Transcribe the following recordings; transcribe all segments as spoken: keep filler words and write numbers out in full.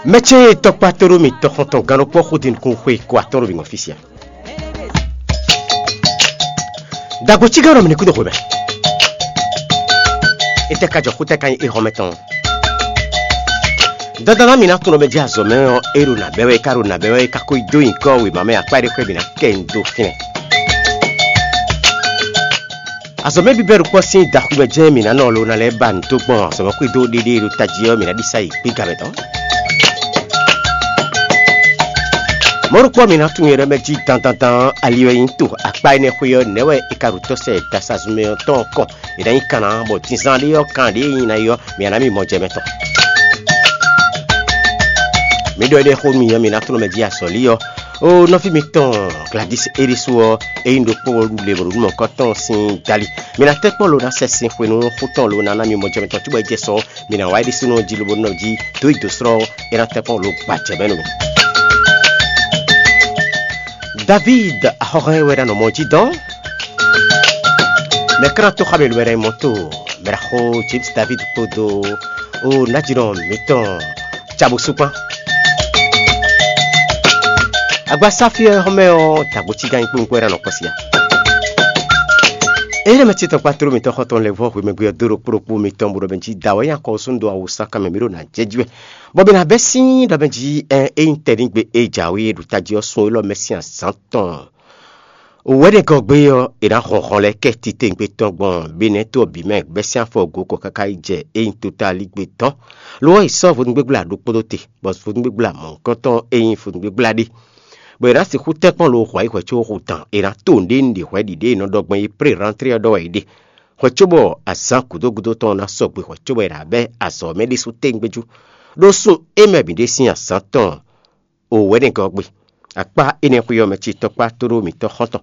Mɛ ce e tɔkpá tóɖó mitɔn xɔntɔn gannɔkpɔ́ xó din nukún xwe kó atɔ́ ɖo bǐ ŋɔ fí sia. Dagbo cí gán ɖɔ mǐ ní kúdó xwemɛ. Étɛ́ ka jɔ xútɛ́ ka nyí éhɔ́mɛ tɔn? Dandan ná mi ná tunɔ mɛ jí azɔ̌ mɛ ɔ́, é ɖo nǎ bɛ́ wɛ, é ka ɖo nǎ bɛ́ wɛ, é ka ko yi dó nyǐkɔ wěma mɛ akpá ɖé xwé mǐ ná kɛ nyi dó fínɛ́. Azɔ̌ mɛ bíbɛ́ ɖokpɔ́ sín daxwimɛ jɛ́n mǐ ná nɔ lo ná lɛ́ ba nǔ dó gbɔn azɔ̌ mɛ xwedó ɖéɖé e ɖo tají ɔ́, mǐ ná ɖi sa yi gbígbá mɛ tɔn. Mɔ̌ ɖokpɔ́ mǐ ná tunwun nyɛ ɖɔ mɛ jí dandandan ali wɛ nyí to akpá énɛ́ xwé ɔ́, nɛ̌ wɛ è ka ɖo tɔ́ sɛ dasazun mɛ ɔ́ tɔn kɔn? È nǎ nyí kanna bɔ dinzán ɖé ɔ́, kan ɖě e nyí ná yi ɔ́, mǐ ná mì mɔ jɛ mɛ tɔn. Mǐ ɖɔ éɖée xó nú mi ɔ́, mi ná tlɔ́n mɛ jí azɔ̌lí ɔ́. Ó nɔví mitɔn Gladys é ɖésú ɔ́, é nyí ɖokpó le ɖo nǔ mɔ̌kɔtɔn sín dali. Mi ná tɛ́ kpɔ́n lo ná sɛ sin xwe nú xú tɔn lo ná ná mi mɔ jɛ mɛ tɔn cóbɔ é jɛ sɔ ɔ́, mi ná wá é ɖésúnɔ jí lobo nɔ jí dó yi dǒ slɔ́ ɔ́, é ná tɛ́ kpɔ́n lo gba jɛ mɛ nú mi. Davíd axɔ́hɛn wɛ ná nɔ mɔ jí dɔn. Mɛ ká ná tó xá mɛ lo wɛ ná nyí mɔ tó mɛ ɖaxó James David kpódó ó nájínɔ mǐtɔn Cabusu kpán. Agbasáfí ɔ́ xɔmɛ ɔ́, dǎgbó cí gán nyí kpónkpó é ná nɔ kpɔ́ sí a? Ényí mɛ ce tɔn kpá tló mǐtɔn xɔtɔn lɛ́ vɔ́ hwemɛgbe ɔ́ dó ɖo kplɔ́kpó mitɔn bó ɖɔ mɛ jí da wɛ nyi akɔ sú dó awu sá kanmɛ mǐ ɖo nǎ jɛ jí wɛ. Bɔ mǐ ná bɛ́ sín ɖɔ mɛ jí ɛ é nyí tɛ́nǐgbe e jǎwe ɖo tají ɔ́ sun élɔ́ mɛ sín azǎn tɔn. Wɛ̌nɛgɔ́ gbe ɔ́, è nǎ hɔn hɔn lɛ́ɛ kɛ titewungbe tɔn gbɔn Benɛ́to ɔ́ bǐ mɛ bɛ́ sín afɔ go kɔ káká yi jɛ é nyí totalígbe tɔn. Lo ɔ́, è sɔ́ vodúngbégbla ɖokpó ɖó te, bɔ vodúngbégbla mɔ̌hunkɔtɔn e nyí vodúngbégbla ɖé, bɔ è nǎ sixú tɛ́ kpɔ́n lo hwǎ yi hwɛ có hú dan; è nǎ to nǔɖé nǔɖé hwɛ ɖiɖě e è nɔ ɖɔ gbɔn é pré rantré ɔ́ ɖɔ wɛ è ɖe. Hwɛ cóbɔ azǎn gǔdo gúdo tɔn ná sɔgbe hwɛ cóbɔ è nǎ bɛ́ azɔ̌ mɛ ɖésú tewungbe jú, ɖó sun é mɛ bǐ ɖe sín azǎn tɔn. O wɛ̌nɛgɔ́ gbe, akpá énɛ́ xwé ɔ́ mɛ ce tɔkpá tóɖó mǐtɔn xɔ́ntɔn.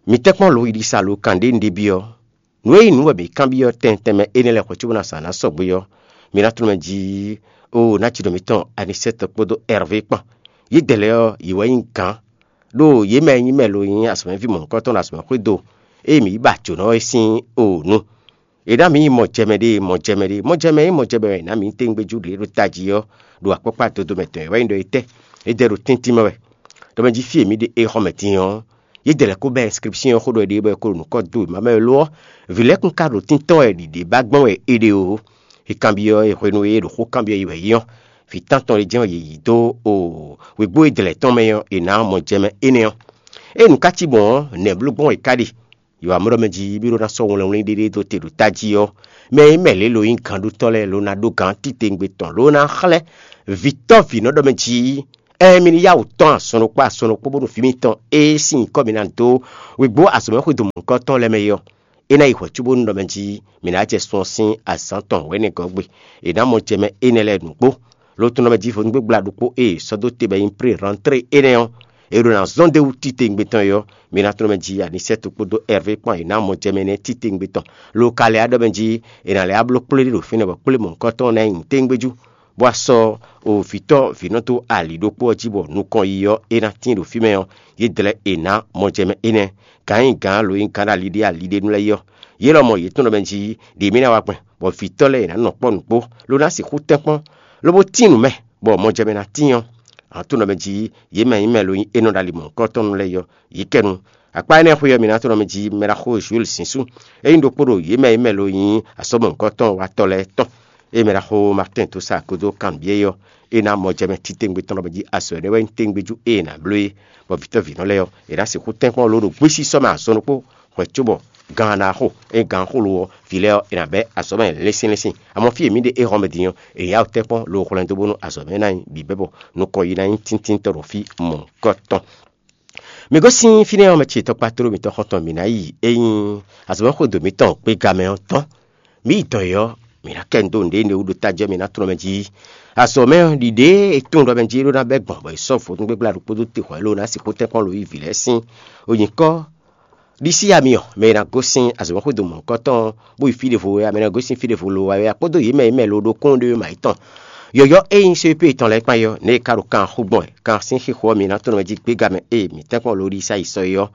Mǐ tɛ́ kpɔ́n lo yiɖisa lo kan ɖě un ɖe byɔ́. Nǔ e nyí nǔ wɛ mǐ kanbyɔ́ tɛnmɛ tɛnmɛ énɛ́ lɛ́ɛ hwɛ̌ cóbó ná zǎn ná sɔgbe ɔ́, mi ná tunwun mɛ jí, oo, ná jí ɖɔ mǐtɔn Anisɛ́ti kpódó Ɛrvé kpán. Yědɛɛ lɛ́ɛ ɔ́, yě wɛ nyí gǎn, ɖó yě mɛ e nyí mɛ lo nyí azɔ̌mɛví mɔ̌hunkɔtɔn ɖo azɔ̌mɛxwédo e mǐ yi ba jǒnɔ é sín o nu. È nǎ mǐ nyí mɔjɛmɛ ɖé, mɔjɛmɛ ɖé, mɔjɛmɛ e nyí mɔjɛmɛ wɛ è nǎ mǐ nyí tewungbejú ɖě ɖo tají ɔ́, ɖo akpɔ́kpá dodomɛ tɔn e wɛ nyí ɖɔ é tɛ́, é dɛ ɖo tɛ́ntin mɛ wɛ. Ɖɔ mɛ jí fí e mǐ ɖe éhɔ́mɛ din ɔ́, yě dɛ lɛ́ kó bɛ́ inscription ɔ́ xó ɖɔ è ɖe bɔ è ko ɖo nǔ kɔ dó wěma mɛ lo ɔ́, vǐ lɛ́ɛ kún ka ɖo tíntɔ́n wɛ ɖiɖě ba gbɔn wɛ è ɖe o. È kanbyɔ́ è hwenu e è ɖo xó kanbyɔ́ yi wɛ é ɔ́, vǐ tántɔn ɖé jɛ́n wɛ yě yí dó o wěgbó e dlɛ̌ tɔn mɛ ɔ́, è nǎ mɔ jɛmɛ énɛ́ ɔ́. Ée nǔ ka cí gbɔn ɔ́, nɛ̌ bló gbɔn è ka ɖe? Yǒwamɔɖɔ mɛ jí bí ɖó ná sɔ́ wlɛnwlɛn ɖéɖé dó te ɖo tají ɔ́, mɛ e nyí mɛ lě lo nyí gǎnɖótɔ́ lɛ́ɛ lo ná ɖó gǎn titewungbe tɔn lo ná xlɛ́ vǐtɔ́ vǐnɔ ɖɔ mɛ jí, ɛɛ mi ní yá wǔ tɔ́n azɔn ɖokpó azɔn ɖokpó bónú vǐ mitɔn e sín nyǐkɔ mi ná dó wěgbó azɔ̌mɛxwédo mɔ̌hunkɔtɔn lɛ́ɛ mɛ é ɔ́, é ná yi hwɛ̌ cóbónú ɖɔ mɛ jí mǐ ná jɛ sun ɔ́ sín azǎn tɔn wɛ̌nɛgɔ́ gbe. È nǎ mɔ jɛ mɛ énɛ́ lɛ́ɛ nǔgbó. Lo tɔn nɔ mɛ jí vodúngbégbla ɖokpó e è sɔ́ dó te bɔ é nyí pré rantré énɛ́ ɔ́, è ɖo ná zɔ́n dó wú titewungbe tɔn é ɔ́, mi ná tlɔ́n mɛ jí Anisɛ́tu kpódó Ɛrvé kpán è nǎ mɔ jɛ mɛ énɛ́ titewungbe tɔn. Lo ka lɛ́ wá ɖɔ mɛ jí è nǎ lɛ́ wá bló kplé ɖé ɖo fínɛ́ bɔ kplé mɔ̌hunkɔtɔn ná nyi tewungbe jú, bó wá sɔ́ o vǐtɔ́ vǐnɔ dó ali ɖokpó ɔ́ jí bɔ nukɔn yiyi ɔ́ é ná tíin ɖo fí mɛ ɔ́, yě dlɛ́ è nǎ mɔ jɛ mɛ énɛ́. Gǎn nyi gǎn lo nyí gǎn ɖo ali ɖé ali ɖé nu lɛ́ɛ yi ɔ́, yě lɔmɔ̌ yě tunwun ɖɔ mɛ jí ɖě mì ná wa gbɛn, bɔ vǐtɔ́ lɛ́ɛ è nǎ nɔ kpɔ́ nǔgbó, lo ná sixú tɛ́nkpɔ́n, lobo tín nǔ mɛ, bɔ mɔjɛmɛ ná tíin ɔ́, a nǎ tunwun ɖɔ mɛ jí yě mɛ nyí mɛ lo nyí énɔ ɖo ali mɔ̌hunkɔtɔn lɛ́ɛ yi ɔ́, yě kɛ nu. Akpá énɛ́ xwé ɔ́, mi ná tunwun ɖɔ mɛ jí mɛ ɖaxó Jules Sínsú, é nyí ɖokpó ɖo yě mɛ nyí mɛ lo nyí asɔ́mɔ̌hunkɔtɔn watɔ́ lɛ́ɛ tɔn. Ée mɛ ɖaxó Martin tó sa akódó kanbyɔ́ é ɔ́, é ná mɔjɛmɛ titewungbe tɔn ɖɔ mɛ jí azɔ̌ énɛ́ wɛ nyí tewungbe jú e è nǎ bló é, bɔ vǐtɔ́ vǐnɔ lɛ́ɛ ɔ́, è nǎ sixú tɛ́nkpɔ́n lǒ ɖo gbésísɔ́ mɛ azɔn ɖokpó hwɛ̌ cóbɔ gan ná xo, é gan xo lo ɔ́, vǐ lɛ́ɛ ɔ́, è nǎ bɛ́ azɔ̌ mɛ lɛ́nsyɛ́nlɛ́nsyɛ́n. Amɔ̌ fí e mǐ ɖe éhɔ́mɛ din ɔ́, è yá wǔ tɛ́nkpɔ́n lo hwlɛ́n dó bónú azɔ̌ mɛ ná nyí bǐbɛ́ bɔ nukɔn yi ná nyí tíntínntɔ́ ɖo fí mɔ̌hunkɔtɔn. Mi gosín fínɛ́ ɔ́, mɛ ce tɔkpá tló mitɔn xɔ́ntɔn mǐ ná yi é nyí azɔ̌mɛxwédo mǐtɔn gbéga mɛ ɔ́ tɔn. Mǐ yi dɔ̌n é ɔ́, mǐ ná kɛ nu dó nǔɖé énɛ́ wú ɖo tájɔ́ mɛ ná tlɔ́n mɛ jí. Azɔ̌ mɛ ɔ́, ɖiɖě e tunwun ɖɔ mɛ jí é ɖó ná bɛ́ gbɔn bɔ è sɔ́ vodúngbégbla ɖokpó dó te hwɛ̌ lónìí ná sixú tɛ́nkpɔ́n lo yí vǐ lɛ́ɛ sín. Onyǐkɔ ɖisí ami ɔ́, mɛ e ná gosín azɔ̌mɛxwédo mɔ̌hunkɔtɔn ɔ́, bó yi fí ɖěvo wɛ, a mɛ e ná gosín fí ɖěvo lo wá wɛ, a kpódó yě mɛ e mɛ lo ɖokpónɔ ɖé wɛ mǎ yětɔn. Yɔ̌yɔ́ e nyí C P tɔn lɛ́ɛ kpán é ɔ́, nɛ̌ è ka ɖo kan xo gbɔn wɛ, kan sín xixo ɔ́, mi ná tlɔ́n mɛ jí gbéga mɛ e mǐ tɛ́nkpɔ́n lo ɖisí ayǐ sɔ é ɔ́.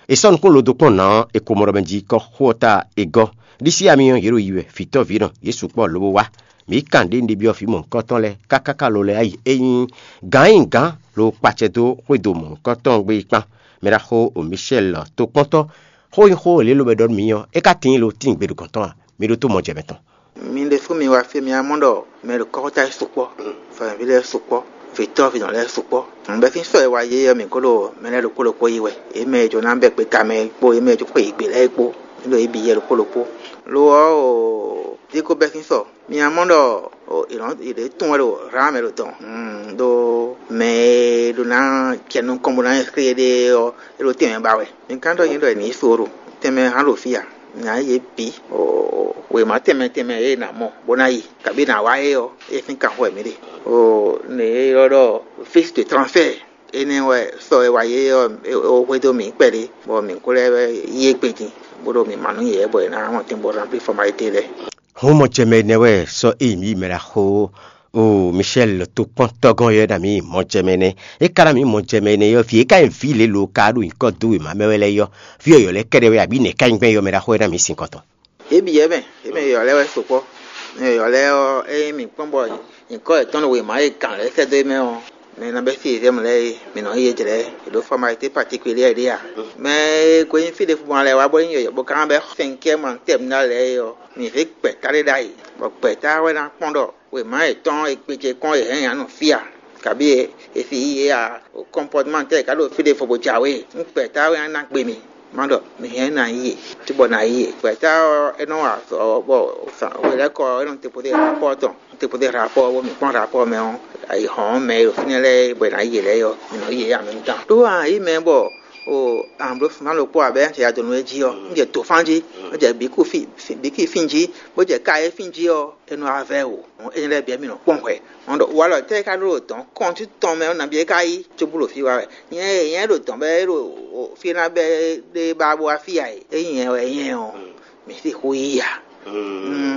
È sɔ́ nukún lo dó kpɔ́n nǎ ɔ́, è ko mɔ ɖɔ mɛ jí kɔ́ xó ɔ́ ta è gɔ́. Ɖisí ami ɔ́, yě ɖo yi wɛ, vǐtɔ́ vǐnɔ, yě sukpɔ́ lobo wá. mǐ kan ɖě un ɖe byɔ́ vǐ mɔ̌hunkɔtɔn lɛ́ɛ káká ka lo lɛ́ɛ yi. É nyí gǎn e nyí gǎn lo kpacɛ dó xwédo mɔ̌hunkɔtɔn gbe é kpán. Mɛɖaxó Michel tokpɔ́ntɔ́, xó nyí xó e lě lobɛ ɖɔ nú mǐ ɔ́, é ka tíin lo tíin gbe ɖo gɔ̌n tɔn a? Mi ɖótó mɔ jɛ mɛtɔn. Mi ɖésú mi wá fí e mi wá mɔ ɖɔ mɛ ɖo kɔ́xota lɛ́ɛ sukpɔ́, fɛnvǐ lɛ́ɛ sukpɔ́, vǐtɔ́ vǐnɔ lɛ́ɛ sukpɔ́. Nǔ bɛ́ sín sɔ e wá yé ɔ́, mǐ ko ɖo mɛ lɛ́ɛ ɖokpó ɖokpó yi wɛ. Yě mɛ e jǒ ná bɛ́ gbe tamɛ é kpó, yě mɛ e jǒ xwe yě gbe lɛ́ɛ é kpó, mǐ ɖo yě bǐ yɛ ɖokpó ɖokpó. Lo ɔ́, o, dín ko bɛ́ sín sɔ. Mi wá mɔ ɖɔ o, è nɔ è ɖě tunwun wɛ ɖo Hlǎn mɛ ɖo dɔn, ɖó mɛ e ɖo ná jɛ nukɔn bó ná nyí xlé ɖé ɔ́, é ɖo tɛnmɛ ba wɛ. Mi ka ɖɔ nyɛ ɖɔ è nǐ yi so ɖo tɛnmɛ hán ɖo fí a? Nya yě bǐ wěma tɛnmɛ tɛnmɛ e è nǎ mɔ bó ná yi, kabǐ è nǎ wa é ɔ́, é sín kan xo wɛ mǐ ɖe. O, nǔ e ylɔ́ ɖɔ fiche de transfert, énɛ́ wɛ sɔ e wa yě ɔ́, é xwedó mǐ kpɛɖé, bɔ mǐ ko lɛ́ yi égbé din, bó ɖo mǐ ma nú yě, bɔ è nǎ mɔ tɛn bó remplir formalité lɛ́ɛ. Hɔn mɔ jɛ mɛ nɛ́ wɛ sɔ́ ényí mǐ yi mɛ ɖaxó o Michel tokpɔ́ntɔ́gɔ́n yɔ́ ná mǐ mɔ jɛ mɛ nɛ́. É ka ná mǐ mɔ jɛ mɛ nɛ́ yɔ́, vǐ e ka nyí vǐ lě lo ka ɖo nyǐkɔ dó wěma mɛ wɛ lɛ́ɛ yɔ́, vǐ yɔ̌yɔ́ lɛ́ɛ kɛ́ɖɛ́ wɛ abǐ nɛ̌ ka nyí gbɛn yɔ́ mɛ ɖaxó wɛ ná mǐ sin kɔn tɔn? Yě bǐ yɛ́ mɛ, yě mɛ yɔ̌yɔ́ lɛ́ɛ wɛ sukpɔ́. Mɛ yɔ̌yɔ́ lɛ́ɛ ɔ́, ényí mǐ kpɔ́n bɔ nyǐkɔ yětɔn ɖo wěma e gǎn lɛ́ɛ sɛ́ dó é mɛ ɔ́, mɛ e ná bɛ́ sí yězɛ́mɛ lɛ́ɛ é, mǐ nɔ yí yě jlɛ̌, yě ɖó formalité particulière ɖé a? Mɛ e ko nyí fí ɖěbǔ ma lɛ́ɛ wá bó nyí yɔ̌yɔ́ bó ka ná bɛ́ cinquième en terminale lɛ́ɛ é ɔ́, mǐ zé gbɛ̌ta ɖé ɖ'ayǐ, bɔ gbɛ̌ta wɛ ná kpɔ́n ɖɔ wěma yětɔn e gbe ce kɔn è hɛn nya nɔ fí a, kabí e è si yí yě a, comportement tɛ́ è ka ɖo fí ɖěvo bó jǎwe. Nú gbɛ̌ta wɛ ná gbe mì, má ɖɔ mǐ hɛn ná yí yě, cóbɔ ná yí yě. Gbɛ̌ta ɔ́, é nɔ wa azɔ̌ bɔ hwelɛ́kɔ ɔ́, é nɔ dépozé rapɔ́ tɔn. Dépozé rapɔ́ ɔ́, bɔ mǐ kpɔ́n rapɔ́ ɔ́ mɛ ɔ́, ayǐ hɔn mɛ e ɖo fínɛ́ lɛ́ɛ é, bɔ è nǎ yí yě lɛ́ɛ é ɔ́, mǐ nɔ yí yě ǎ mɛ tɔn. Ɖó a yǐ mɛ bɔ o amblǒfuma ɖokpó ǎ bɔ é ná jɛ ya dó nú é jí ɔ́, un jɛ dǒfán jí, un jɛ bǐkú fí, bǐkí fín jí, bó jɛ ká é fín jí ɔ́, é nɔ wá vɛ́ wǒ. Énɛ́ lɛ́ɛ bǐ wɛ mǐ nɔ kpɔ́n hwɛ. Mɔ̌ ɖɔ walɔ tɛ́ e ka ɖó ɖo dɔ̌n kɔn cí tɔn mɛ ɔ́ nabí é ka yí cóbú ɖo fí wá wɛ? Nyɛ e nyɛ ɖo dɔ̌n bɛ é ɖo fí ná bɛ́ ɖé ba bó wá fí ǎ e. Ényí nyɛ wɛ nyɛ ɔ́, mǐ sixú yí ǎ.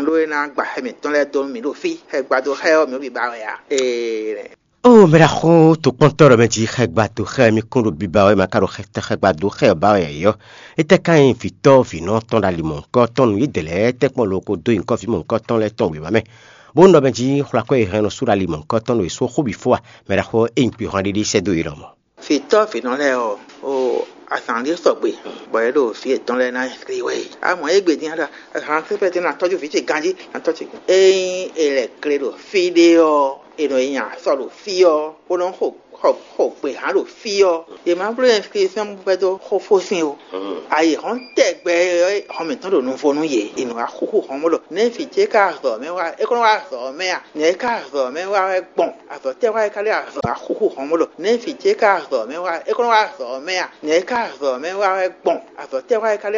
Ɖó é ná gba xɛ mǐtɔn lɛ́ɛ dó nú mǐ ɖo fí. Xɛ gbadó xɛ ɔ́, mǐ ó bǐ ba wɛ ǎ. Ee. Ó mɛ ɖaxó tokpɔ́ntɔ́ ɖɔ mɛ jí xɛ gbadó xɛ mì kún ɖo biba wɛ ma ka ɖo xɛ tɛ xɛ gbadó xɛ ɔ́ ba wɛ yɔ. Étɛ́ ka nyí vǐtɔ́ vǐnɔ tɔn ɖo ali mɔ̌hunkɔtɔn nú yědɛɛ lɛ́ɛ tɛ́nkpɔ́n loko dó nyǐkɔ vǐ mɔ̌hunkɔtɔn lɛ́ɛ tɔn wěma mɛ, bó nɔ mɛ jí xwlakwɛ́ e hɛn nɔ sú ɖo ali mɔ̌hunkɔtɔn nú è sú xó bǐ fó a? Mɛ ɖaxó e nyí kpixwanɖéɖé sɛ́ dó yě lɔmɔ̌. Vǐtɔ́ vǐnɔ lɛ́ɛ ɔ́, o azǎn ɖé sɔgbe, bɔ é ɖo vǐ yětɔn lɛ́ɛ ná hlí wɛ. A mɔ égbé din ɖɔ azǎn sɛ́ pɛ́tɛ́ ná tɔ́jú vǐ ce ganjí, ná tɔ́ ce. Ényí è lɛ̌ kle ɖo fí ɖé ɔ́, è nɔ nyi asɔ ɖo fí ɔ́, bó nɔ́ xo xɔ xɔ gběhan ɖo fí ɔ́, yě má bló ɛnskripsiɔn bó vɛ́ dó xófó sín o. Ayǐ hɔn tɛgbɛ ɔ́, hɔn mǐtɔn ɖo nuvo nú yě, è nɔ wá xúxú hɔn bó ɖɔ nɛ̌ vǐ ce ka azɔ̌ mɛ wá, é kɔn nɔ wá azɔ̌ mɛ a? Nɛ̌ é ka azɔ̌ mɛ wá wɛ gbɔn? Azɔ̌ tɛ́ wá é ka ɖe azɔ̌ wá xúxú hɔn bó ɖɔ nɛ̌ vǐ ce ka azɔ̌ mɛ wá, é kɔn nɔ wá azɔ̌ mɛ a? Nɛ̌ é ka azɔ̌ mɛ wá wɛ gbɔn? Azɔ̌ tɛ́ wá é ka ɖe